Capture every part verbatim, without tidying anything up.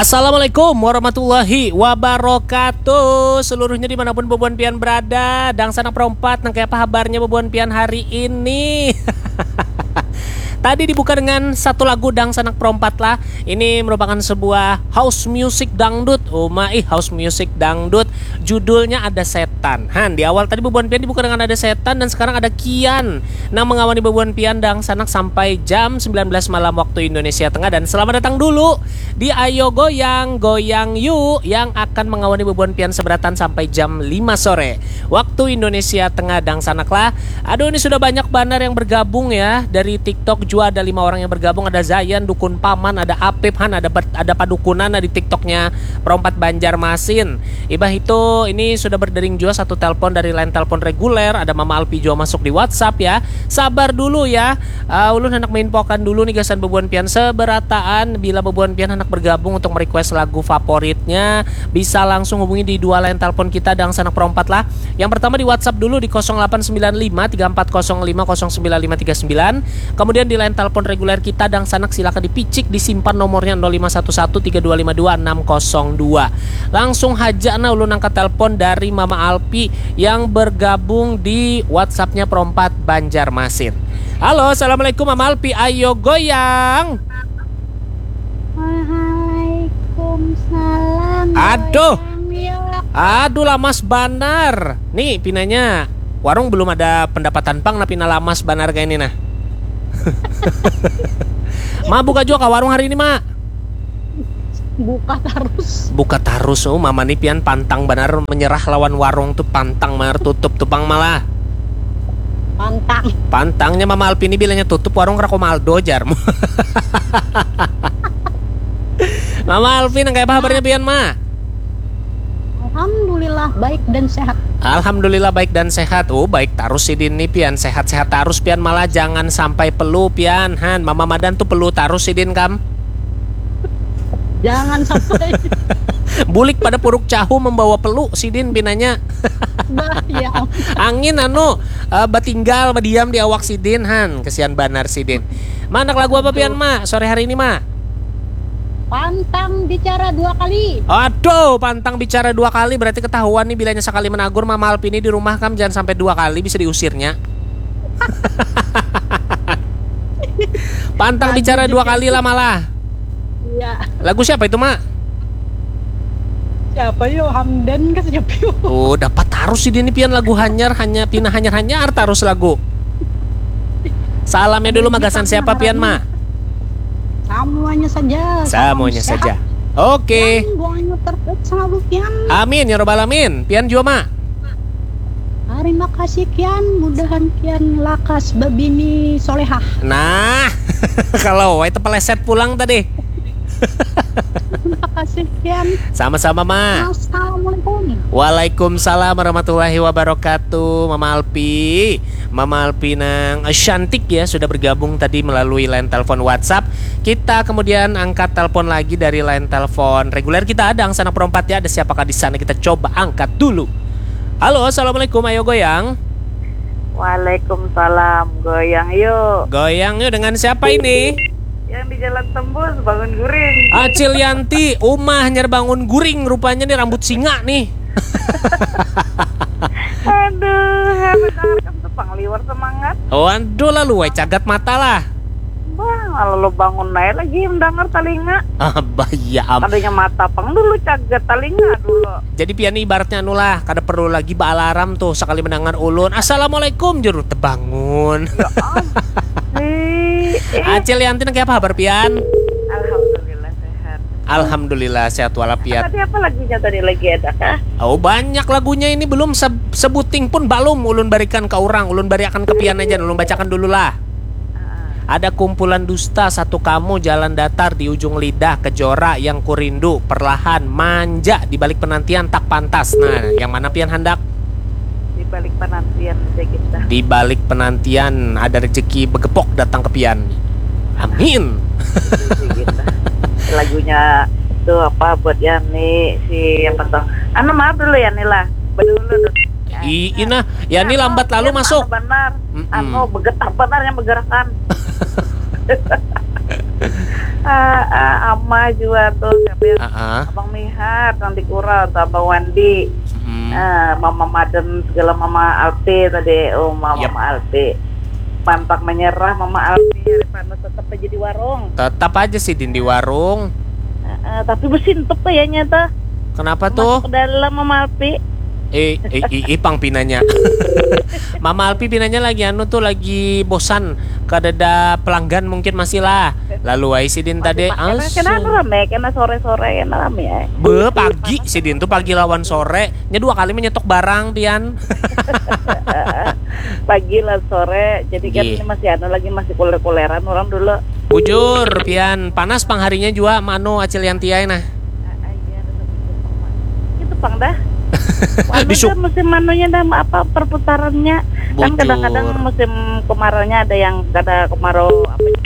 Assalamualaikum warahmatullahi wabarakatuh. Seluruhnya dimanapun bubuhan pian berada, dangsanak perompat, nang kaya apa habarnya bubuhan pian hari ini? Tadi dibuka dengan satu lagu dangsanak perompat lah. Ini merupakan sebuah house music dangdut. Uma ih, house music dangdut. Judulnya Ada Setan. Han, di awal tadi bubuhan pian dibuka dengan Ada Setan dan sekarang ada Kian nang mengawani bubuhan pian dangsanak sampai jam sembilan belas malam waktu Indonesia Tengah. Dan selamat datang dulu di Ayo Goyang, Goyang Yu yang akan mengawani bubuhan pian seberatan sampai jam lima sore waktu Indonesia Tengah dangsanak lah. Aduh, ini sudah banyak banar yang bergabung ya. Dari TikTok juga ada lima orang yang bergabung. Ada Zayan, Dukun Paman, ada Apip, Han, ada ber- ada padukunan di TikToknya Perompat Banjarmasin. Ibah itu ini sudah berdering juga satu telepon dari line telepon reguler. Ada Mama Alpi juga masuk di WhatsApp ya. Sabar dulu ya. Uh, ulun hendak menginfokan dulu nih gasan bubuhan pian seberataan. Bila bubuhan pian hendak bergabung untuk merequest lagu favoritnya, bisa langsung hubungi di dua line telepon kita dangsanak perompat lah. Yang pertama di WhatsApp dulu di kosong delapan sembilan lima tiga empat kosong lima kosong sembilan lima tiga sembilan. Kemudian di line telepon reguler kita dangsanak silakan dipicik, disimpan nomornya nol lima satu satu tiga dua lima dua enam kosong dua. Langsung haja nah ulun angkat telepon dari Mama Alpi yang bergabung di WhatsAppnya Perompat Banjarmasin. Halo, assalamualaikum Mama Alpi, ayo goyang. Waalaikumsalam. Aduh. Goyang yuk. Aduh, lamas banar. Nih pinanya, warung belum ada pendapatan pang nah pina lamas banar kayak ini nah. Ma buka juga ke warung hari ini, Ma? Buka terus. Buka terus, oh Mama nih pian pantang banar menyerah lawan warung tuh, pantang banar tutup tuh pang malah. Pantang. Pantangnya Mama Alpi ini bilanya tutup warung Rakomaldo jar. Mama Alpi, nang kayak apa kabarnya pian, Ma? Alhamdulillah baik dan sehat. Alhamdulillah baik dan sehat. Oh, baik terus sidin nih pian, sehat-sehat terus pian, malah jangan sampai pelu pian. Han, Mama Madan tuh pelu terus sidin kam. Jangan sampai. Bulik pada Puruk Cahu membawa pelu sidin pinanya. Bah, ya. Angin anu, eh, batinggal badiam di awak sidin, Han. Kesian banar sidin. Ma, handak lagu apa pian, Ma, sore hari ini, Ma? Pantang bicara dua kali. Aduh, pantang bicara dua kali, berarti ketahuan nih bilanya sekali menagur Mama Alpi ini di rumah kam, jangan sampai dua kali bisa diusirnya. Pantang bicara dua kali lah malah. Iya. Lagu siapa itu, Ma? Siapa yo? Hamdan kah siapa yo? Oh, dapat terus sidin nih pian lagu hanyar, hanya pina hanyar-hanyar terus lagu. Salamnya dulu, magasan siapa pian, Ma? Semuanya saja. Semuanya saja. Oke. Buangnya terbaik sama pian. Amin ya robbal alamin. Pian juga, Ma. Terima kasih kian, mudahan kian lakas babini solehah. Nah, kalau itu peleset pulang tadi. Terima kasih kian. Sama-sama, Ma. Assalamualaikum. Waalaikumsalam warahmatullahi wabarakatuh, Mama Alpi. Mama Alpi nang cantik ya, sudah bergabung tadi melalui line telepon WhatsApp. Kita kemudian angkat telepon lagi dari line telepon reguler kita. Ada anak perompat ya, ada siapakah di sana? Kita coba angkat dulu. Halo, assalamualaikum, ayo goyang. Waalaikumsalam, goyang yuk. Goyang yuk, dengan siapa ini? Yang di Jalan Tembus, Bangun Guring. Acil Yanti, umah nyar Bangun Guring, rupanya nih rambut singa nih. Aduh, hebat banget kan tuh, pangliwar semangat. Waduh, lalu wae cagat mata lah. Bang, lalu bangun aja lagi mendengar telinga. Abah ya am. Tadinya mata pang dulu, cagat telinga dulu. Jadi pian ibaratnya anu lah, kada perlu lagi baalarm tuh, sekali mendengar ulun, "Assalamualaikum," juru tebangun. Eh, eh, Acil Yanti, nang kayak apa kabar pian? Alhamdulillah sehat. Alhamdulillah sehat walafiat. Tadi apa lagunya tadi lagi ada kah? Oh, banyak lagunya ini, belum se- sebuting pun balum ulun barikan ke orang, ulun bariakan ke pian aja, ulun bacakan dulu lah. Ada kumpulan dusta satu kamu, jalan datar di ujung lidah, kejora yang kurindu, perlahan manja di balik penantian tak pantas. Nah, yang mana pian handak? Di balik penantian aja kita. Di balik penantian ada rezeki begepok datang ke pian. Amin. Gitu. Lagunya tuh apa buat Yani, si apa tuh? Anu, maaf dulu Yani lah. Bedulu dulu. I, ina, Yani lambat lalu masuk. Benar. Mm-mm. Anu, begetar benar yang bergerakan. Ah, ah, Ama juga tuh, siapa yang Ah, ah. Abang Mihar yang di Kura atau Abang Wandi. Hmm. Ah, Mama Maden segala, Mama Alpi tadi, oh Mama Yap. Alpi. Pantang menyerah Mama Alpi, hari panas tetap aja di warung. Tetap aja sidin di warung. Ah, ah, tapi besintup kayaknya tuh. Kenapa Masuk tuh? Ke dalam Mama Alpi. Eh, eh, i- ipang pinanya. Mama Alpi pinanya lagi anu tuh, lagi bosan. Kadada pelanggan mungkin masih lah. Lalu ai sidin tadi Masih pakai, kena anu angsung. Rame, kena sore-sore, kena rame ya. Be, pagi sidin tuh, pagi lawan sore. Nya dua kali menyetok barang pian. Pagi lah sore, jadi kan Nggih. Ini masih anu lagi, masih kuler-kuleran orang dulu. Bujur pian, panas pang harinya jua, manu Acil Yanti ai nah. Ah, ah, iya, tetap itu, Pak. Itu pang dah. Anu Di su- dah musim anunya dah, apa, perputarannya. Kan Bujur. Kadang-kadang musim kemaraunya ada yang kada kemarau apa ya?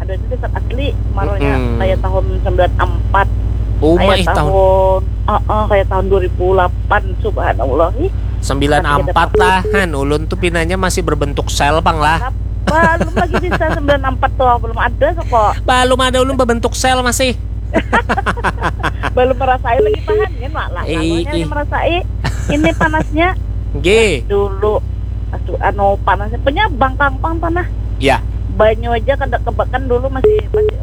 Ada itu tetap asli kemaraunya Mm-mm. Kayak tahun sembilan empat. Uma Kayak ih tahun tahun, oh, oh, kayak tahun dua ribu delapan, subhanallah. Ih, sembilan empat lah, han, ulun tuh pinanya masih berbentuk sel pang lah. Belum lagi bisa sembilan empat tuh, belum ada kok. Belum ada, ulun berbentuk sel masih. Belum merasai lagi, tahan kan, Mak, lah. Ih, Lalunya ih. Merasai ini panasnya Nggih. Dulu, aduh, anu, panasnya punya bangkang pang tanah. Ya. Banyu aja kada kebakan dulu, masih, masih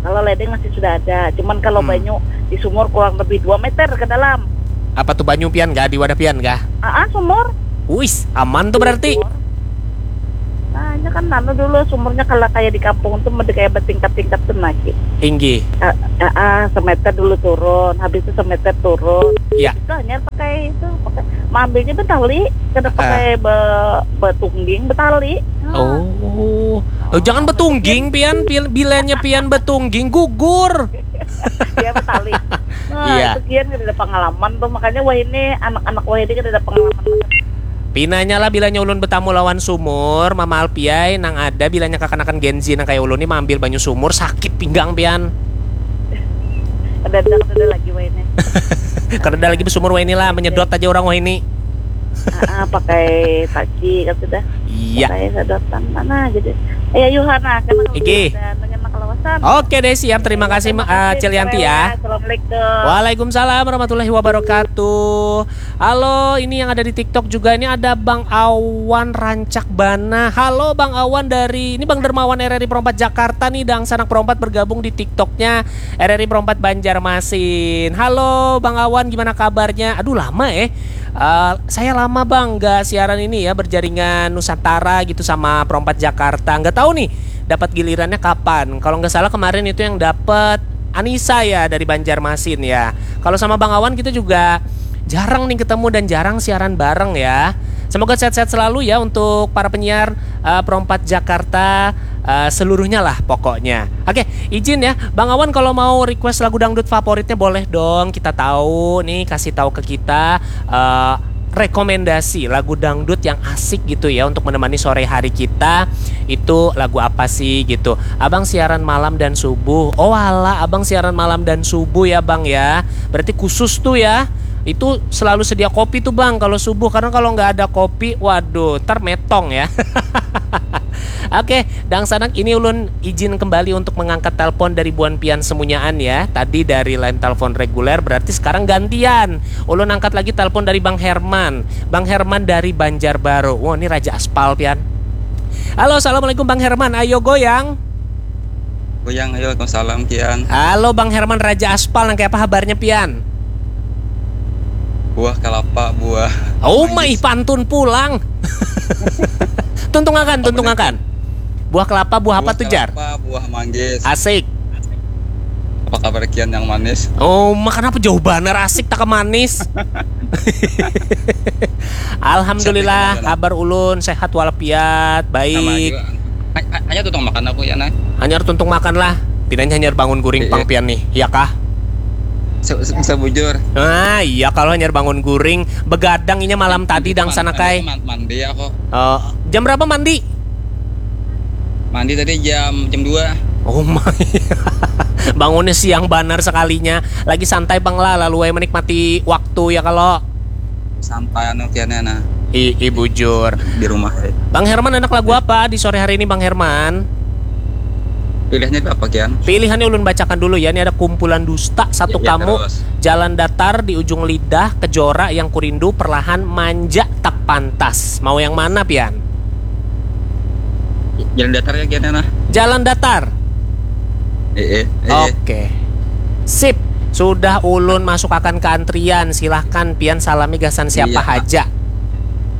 kalau ledeng masih sudah ada. Cuman kalau Hmm. Banyu di sumur kurang lebih dua meter ke dalam. Apa tuh banyu pian kah, di wadah pian kah? Ah, ah, sumur. Wis, aman tuh berarti. Sumur. Nah, ini kan anu dulu sumurnya kalau kayak di kampung tuh mesti kayak bertingkat-tingkat tuh lagi. Inggih. Ah, ah, ah, semeter dulu turun, habis itu semeter turun. Ya. Itu hanya pakai itu, pakai, ambilnya betali, kada Ah. Pakai be, betungging, betali. Ah. Oh. Oh, jangan betungging pian, pil- bilanya pian betungging gugur. Dia betali. Nah, Iya. Itu kian kada ada pengalaman tuh, makanya wah ini anak-anak wah ini kada ada pengalaman. Pinanya lah, bilanya ulun betamu lawan sumur, Mama Alpiai nang ada, bilanya kakanakan Gen Z nang kayak ulun nih maambil banyu sumur, sakit pinggang pian. Kada ada, kada ada lagi wah ini. Kada ada lagi besumur wah ini lah, menyedot aja orang wah ini. Ah, ah, pakai taki kata dah. Iya. Pakai sedotan mana jadi. Ya Yohana kan Iki. Dengan kelawasan. Oke deh, siap. Terima kasih, Ma- ah, Cilianti ya. Assalamualaikum. Waalaikumsalam warahmatullahi wabarakatuh. Halo, ini yang ada di TikTok juga. Ini ada Bang Awan Rancak Bana. Halo Bang Awan dari, ini Bang Dermawan R R I Perempat Jakarta nih, dangsanak Perempat bergabung di TikToknya R R I Perempat Banjarmasin. Halo Bang Awan, gimana kabarnya? Aduh, lama eh. Eh, saya lama Bang nggak siaran ini ya, berjaringan Nusantara gitu sama Perempat Jakarta. Nggak tahu nih dapat gilirannya kapan. Kalau nggak salah kemarin itu yang dapat Anissa ya dari Banjarmasin ya. Kalau sama Bang Awan kita juga jarang nih ketemu dan jarang siaran bareng ya. Semoga sehat-sehat selalu ya untuk para penyiar eh, Perempat Jakarta eh, seluruhnya lah pokoknya. Oke, izin ya, Bang Awan kalau mau request lagu dangdut favoritnya boleh dong. Kita tahu nih, kasih tahu ke kita eh, rekomendasi lagu dangdut yang asik gitu ya untuk menemani sore hari kita. Itu lagu apa sih gitu? Abang siaran malam dan subuh. Oh alah, abang siaran malam dan subuh ya Bang ya. Berarti khusus tuh ya. Itu selalu sedia kopi tuh Bang kalau subuh, karena kalau nggak ada kopi, waduh, ntar metong ya. Oke, dangsanak, ini ulun izin kembali untuk mengangkat telepon dari buan pian semunyaan ya. Tadi dari line telepon reguler, berarti sekarang gantian. Ulun angkat lagi telepon dari Bang Herman. Bang Herman dari Banjarbaru. Wah, ini raja aspal pian. Halo, assalamualaikum Bang Herman. Ayo goyang. Goyang, ayo, waalaikumsalam, Kian. Halo Bang Herman, raja aspal, nang kayak apa habarnya pian? Buah kelapa, buah. Oh my, pantun pulang. Tuntungakan, tuntungakan. Buah kelapa, buah apa tuh, Jar? Kelapa, buah manggis. Asik. Apa kabar Kian yang manis? Oh, ma, kenapa jauh banar asik tak ke manis? Alhamdulillah, Sehat, sehat. Kabar ulun sehat walafiat, Sama baik. juga. Ha- ha- Hanya tuntung makan aku ya, nah. Hanyar tuntung makan lah. Pinanya hanyar bangun guring Iya. Pang pian nih, ya kah? Se- se- Sebujur. Nah, iya, kalau hanyar bangun guring, begadang inya malam tadi dangsanak ai. Man- Mandi aku. Eh, jam berapa mandi? Mandi tadi jam jam dua. Oh my. Bangunnya siang banar sekalinya. Lagi santai Bang lah, lalu ai menikmati waktu ya kalau. Sampai anu Kian ya, nah, I, i bujur. di rumah. Bang Herman, anak lagu apa di sore hari ini, Bang Herman? Pilihnya apa, Kian? Pilihannya ulun bacakan dulu ya. Ini ada kumpulan dusta, satu ya, ya, kamu, terus. Jalan datar di ujung lidah, kejora yang kurindu, perlahan manja tak pantas. Mau yang mana, Pian? Jalan datar ya, Kian, nah. Jalan datar. Eh, eh, eh. Oke. Sip. Sudah ulun masuk akan ke antrian. Silahkan Pian salami gasan siapa iya. Haja.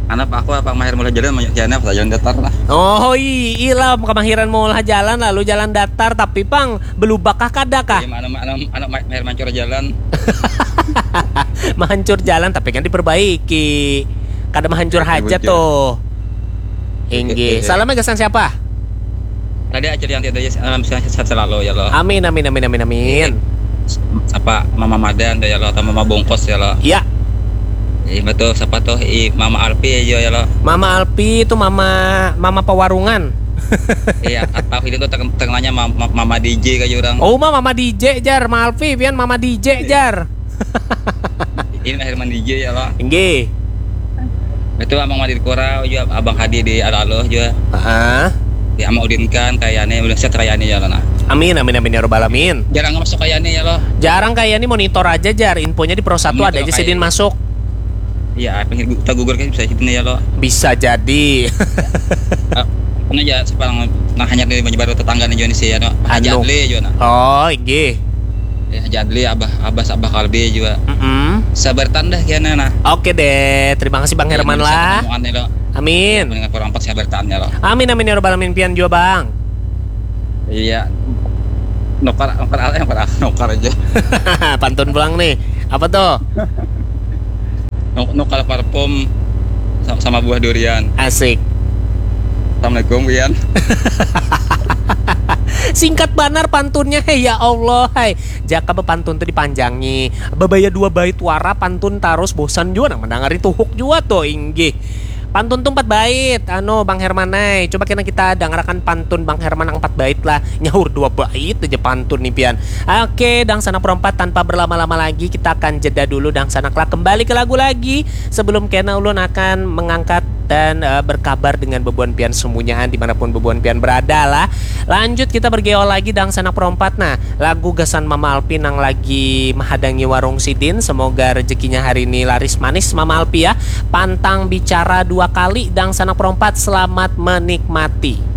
Anak aku apa mahir mulai jalan banyak jalan apa jalan datar lah. Oh iya, kemahiran mulai jalan lalu jalan datar tapi pang belubakah kada kah? Iya, anak anak anak mahir mancur jalan. Mahancur jalan tapi kan diperbaiki. Kada mahancur haja tuh. Inggih. Salam gasan siapa? Tadi aja yang tidak alam sehat selalu ya lo. Amin amin amin amin amin. Apa Mama Madan ya lo atau Mama Bungkus ya lo. Iya. Iya betul, siapa tuh? I Mama Alpi aja ya lo. Mama Alpi itu mama mama pewarungan. Iya, atau ini tuh terkenalnya Mama, Mama D J kayak orang. Oh, Mama D J jar, Mama Alpi pian Mama D J jar. Ini akhir mandi J ya lo. Inggih. Itu Amang Madin Kura juga, Abang Hadi di Alalo juga. Heeh. Ya mau Udin kan kayaknya udah set kayaknya ya lo nah. Amin amin amin ya robbal alamin. Jarang masuk kayaknya ya lo. Jarang kayaknya monitor aja jar, infonya di Pro satu ada aja sidin masuk. Iya, pengen kita gugur kan bisa sidin ya lo. Bisa jadi. Karena ya sekarang nah hanya di baru tetangga nih Joni sih ya no. Haji Adli juga nah. Oh, inggih. Ya, Haji Adli, Abah Abah Abah Kalbi juga. Mm -mm. Sabar tandah kiana nah. Oke deh, terima kasih Bang Herman lah. Amin. Dengan kurang empat sabar tandah lo. Amin amin ya robbal alamin pian juga Bang. Iya. Nukar nukar aja nukar nukar aja. Pantun pulang nih. Apa tuh? Nukar parfum sama buah durian. Asik. Assalamualaikum Wian. Singkat banar pantunnya hei ya Allah hai. Jaka bepantun tuh dipanjangi. Babaya dua bait wara pantun tarus bosan juga nang mendangari tuhuk juga tuh inggih. Pantun tuh empat bait, anu Bang Herman ay. Coba kena kita dangarakan pantun Bang Herman empat bait lah. Nyaur dua bait aja pantun nih pian. Oke, dangsanak perompat tanpa berlama-lama lagi kita akan jeda dulu dangsanak lah kembali ke lagu lagi. Sebelum kena ulun akan mengangkat dan uh, berkabar dengan bebuan pian semunyaan dimanapun bebuan pian berada lah. Lanjut kita bergeol lagi dangsanak perompat nah. Lagu gasan Mama Alpi nang lagi menghadangi warung sidin. Semoga rezekinya hari ini laris manis Mama Alpi ya. Pantang bicara dua kali dangsanak perompat selamat menikmati.